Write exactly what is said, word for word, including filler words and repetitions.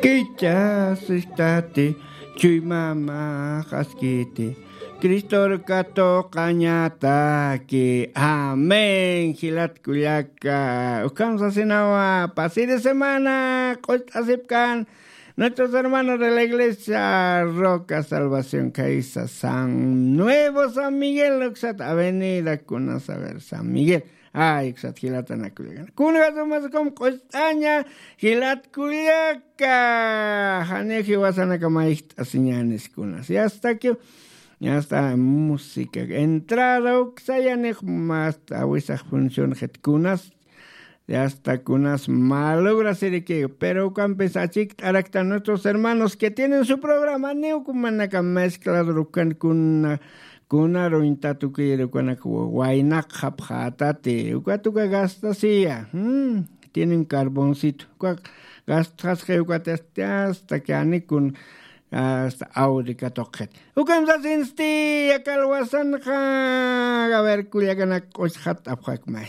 Kichasistati, chuymama qaskiti, Cristor katuqañataki. Amén. Jilat kullaka, ukham sasinawa, pasiri semana q'ucht'asipkan nuestros hermanos de la iglesia Roca Salvación Caisa San Nuevo San Miguel, uksat avenida kuna saber San Miguel. Ay, uksat jilatanakullakana, kunjasumaskum q'ucht'aña. Jilat kullaka, janiw jiwasanaka mayjt'asiñänis kunas, ya está que, ya está, música, entrada uksayanix, más awisax función jit kunas, ya está kunas malograsiriki. Pero ukampis achikt'arakta nuestros hermanos que tienen su programa, niw kumanaka mezclador ukan kuna, kunaruñta tukir ukanak waynaq japjatati, ukat uka gastasiya. Hmm, tienen carboncito, uka gastxasqi ukat, hasta que anikun, hasta aurika tuqxit. Ukan sasinsti, yakalwasanxa. A ver, kullakanak, q'uchxat apxakmay.